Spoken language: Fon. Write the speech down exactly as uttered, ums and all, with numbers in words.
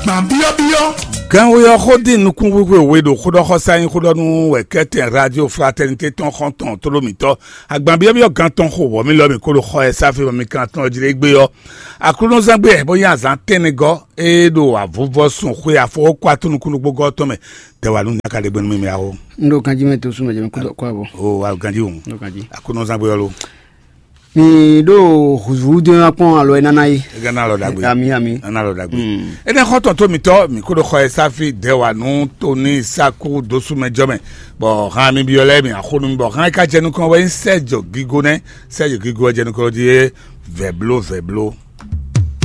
Gbǎn byɔ́byɔ́. Gánwé ɔ́ xó dín nukúnxwíxwe we ɖo xóɖɔxɔsá nyí xóɖɔnú wɛ kɛ́tɛn Radio Fraternité tɔn xɔ́ntɔn tlóló mǐtɔn. Agban byɔ́byɔ́ gán tɔn xo wɔ̌ mì lɔ mǐ kó ɖo xɔ ɛ sáfí bɔ mi kan tɔn jí ɖé gbé ɔ́. Aklúnɔzán gbé bó nyí azǎn tɛ́nnɛgɔ́ é ɖo avuvɔ sun xwe afɔwɔ́kú atúnukúnúgbógɔ́ tɔn mɛ. Tɛwà nú nyaka ɖé gbé nú mì mì awo. Un ɖo ganjí mɛ to súnmɛ jɛ mi kú dɔ kó àbọ̀. O wa ganjí o. Un ɖo ganjí. Aklúnɔzán gbé ɔ́ lo. Mi ɖo huzúdó nya kpɔn alɔ ɛ nana yi. Ega na lɔ dagbe. Ami ami. Ana lɔ dagbe. Ene xɔ tɔn to mitɔ mi ko ɖo xɔ ɛ sáfi dɛwà nú tóní sáku dosúmɛ jɔ mɛ. Bɔ hàn mi biɔ lɛ mi axonu mi bɔ hàn ka jɛ nukɔn wɛ sɛ jɔ gigo nɛ sɛ jɔ gigo jɛ nukɔn di ye vɛ blo vɛ blo.